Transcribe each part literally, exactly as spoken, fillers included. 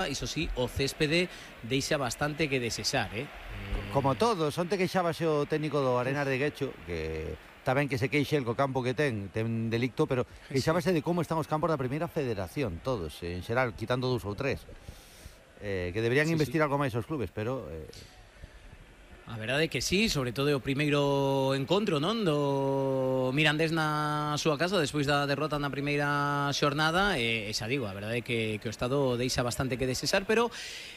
Iso sí, o céspede deixa bastante que desexar, eh? Como todos, onte queixábase o técnico do Arenas de Guecho, que está ben que se queixe el co campo que ten, ten delicto, pero queixábase de como están os campos da primeira federación, todos, en xeral, quitando dous ou tres. Eh, que deberían sí, investir sí. algo máis os clubes, pero... Eh... A verdade é que sí, sobre todo o primeiro encontro, non, do Mirandés na súa casa despois da derrota na primeira xornada, e, e xa digo, a verdade é que, que o Estado deixa bastante que desexar, pero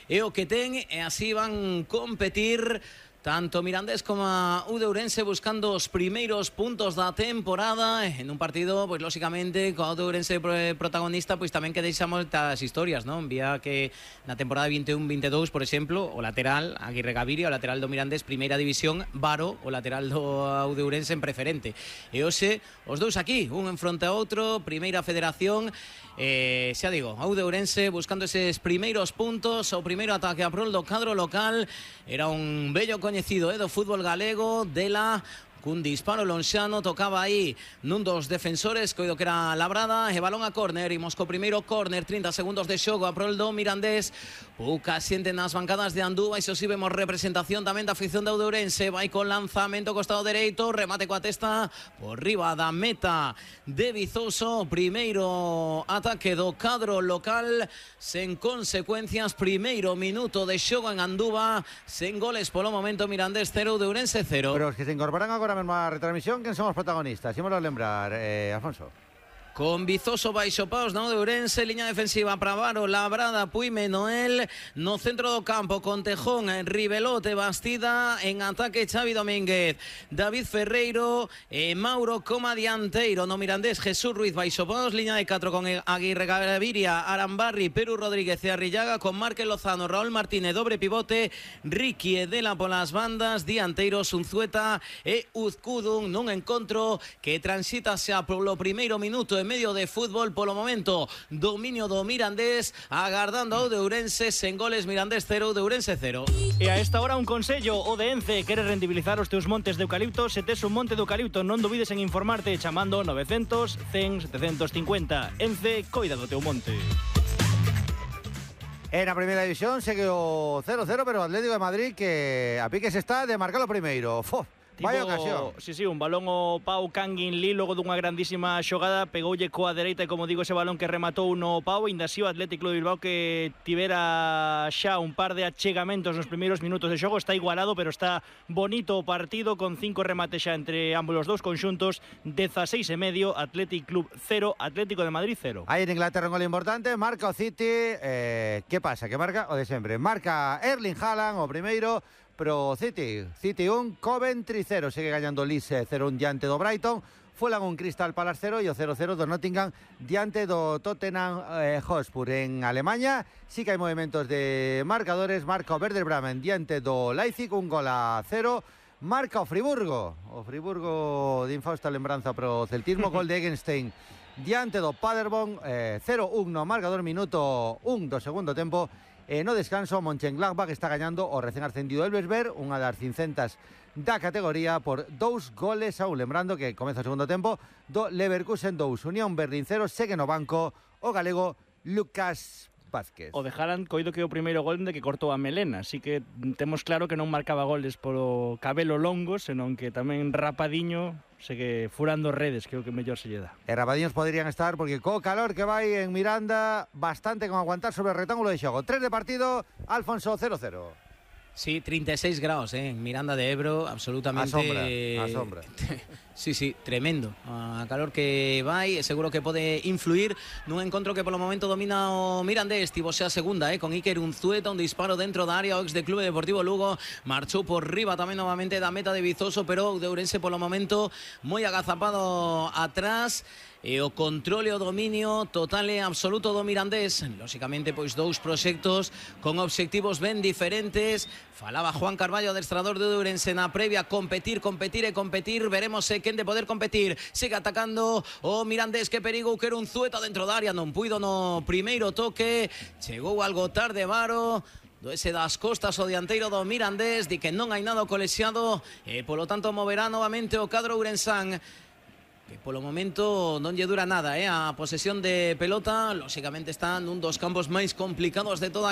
é o que ten, e así van competir tanto Mirandés como a U de Ourense buscando os primeiros puntos da temporada en un partido, pois lógicamente co U de Ourense protagonista, pois tamén que deixa moitas historias, non? Vía que na temporada vinte e un vinte e dous, por exemplo, o lateral Aguirre Gaviria, o lateral do Mirandés primeira división, Varo, o lateral do U de Ourense en preferente. E hoxe os dous aquí, un en fronte a outro, primeira federación. Eh, xa digo, a U de Ourense buscando eses primeiros puntos, o primeiro ataque a prol do cadro local. Era un bello coñecido eh, do fútbol galego, Dela, cun disparo lonxano, tocaba aí nun dos defensores, coido que era Labrada, e balón a córner, imos co primeiro córner, trinta segundos de xogo a prol do Mirandés. Pouca xente nas bancadas de Andúba, iso si vemos representación tamén da afición da U de Ourense, vai con lanzamento costado dereito, remate coa testa por riba da meta de Vizoso, primeiro ataque do cadro local sen consecuencias, primeiro minuto de xogo en Andúba, sen goles polo momento, Mirandés cero, U de Ourense cero. Pero os que se incorporan agora mesmo a retransmisión, quen son os protagonistas? Ímoslo a lembrar, eh, Alfonso. Con Vizoso baixo paus na U de Ourense, liña defensiva para Varo, Labrada, Puime, Noel, no centro do campo con Tejón, Rivelote, Bastida, en ataque Xavi Domínguez, David Ferreiro, e Mauro como dianteiro, no Mirandés Jesús Ruiz baixo paus, liña de catro con Aguirre Gaviria, Arambarri, Perú Rodríguez e Arrillaga, con Márquez Lozano, Raúl Martínez, dobre pivote, Ricky Edela polas bandas, dianteiros Unzueta e Uzcudun, nun encontro que transita xa polo primeiro minuto en medio de fútbol. Polo momento, dominio do Mirandés, agardando ao de Ourense, sen goles, Mirandés cero, de Ourense cero. E a esta hora un consello, o de Ence quere rendibilizar os teus montes de eucalipto. Se tes un monte de eucalipto, non dubides en informarte chamando novecientos, cen, setecientos cincuenta. Ence, coida do teu monte. En a primeira división segue o cero cero, pero o Atlético de Madrid que a piques está de marcar o primeiro. Fof. Tipo, vaya ocasión. Sí, sí, un balón o Pau Kangin Lee, logo dunha grandísima xogada, pegoulle coa dereita e, como digo, ese balón que rematou no Pau. Ainda así o Atlético de Bilbao, que tivera xa un par de achegamentos nos primeiros minutos de xogo, está igualado, pero está bonito o partido, con cinco remates xa entre ambos os dous conxuntos. Dezaseis e medio, Athletic Club cero, Atlético de Madrid cero. Aí en Inglaterra un gol importante, marca o City. Eh, que pasa? Que marca o de sempre. Marca Erling Haaland o primeiro, pero City, City un, Coventry cero, sigue gañando Leeds cero un diante do Brighton, Fulham un, Crystal Palace cero e o cero cero do Nottingham diante do Tottenham eh, Hotspur. En Alemania sí que hai movimentos de marcadores, marca o Werder Bremen diante do Leipzig, un gol a cero, marca o Friburgo, o Friburgo de infausta lembranza pro celtismo, gol de Egenstein diante do Paderborn, eh, cero un no marcador, minuto un do segundo tempo. E no descanso, Mönchengladbach está gañando o recén ascendido Elversberg, unha das cincentas da categoría, por dous goles a un. Lembrando que comeza o segundo tempo do Leverkusen dous, Unión Berlín cero, segue no banco o galego Lucas Vázquez. O de Haaland, coido que o primeiro gol de que cortou a melena, así que temos claro que non marcaba goles polo cabelo longo, senón que tamén rapadiño, segue furando redes, que é o que mellor se lle dá. E rapadiños poderían estar, porque co calor que vai en Miranda, bastante con aguantar sobre o rectángulo de xogo. tres de partido, Alfonso cero cero. Sí, treinta e seis graus, eh, en Miranda de Ebro, absolutamente... A sombra, a sombra. Sí, sí, tremendo. A calor que vai, seguro que pode influir nun encontro que polo momento domina o Mirandés. Tivo xa segunda, eh, con Iker Unzueta, un disparo dentro da área, o ex de Clube Deportivo Lugo, marchou por riba tamén novamente da meta de Vizoso, pero o de Ourense polo momento moi agazapado atrás. E o controle o dominio total e absoluto do Mirandés. Lóxicamente, pois dous proxectos con obxectivos ben diferentes. Falaba Juan Carballo, adestrador de Ourense na previa, competir, competir e competir. Veremos se quen de poder competir. Sigue atacando o Mirandés, que perigo, que era un Zueta dentro da área, non puido no primeiro toque. Chegou algo tarde Varo, do ese das costas o dianteiro do Mirandés, di que non hai nada colexiado e polo tanto moverá novamente o cadro ourensán. que polo momento non lle dura nada, eh, a posesión de pelota. Lóxicamente están un dos campos máis complicados de toda a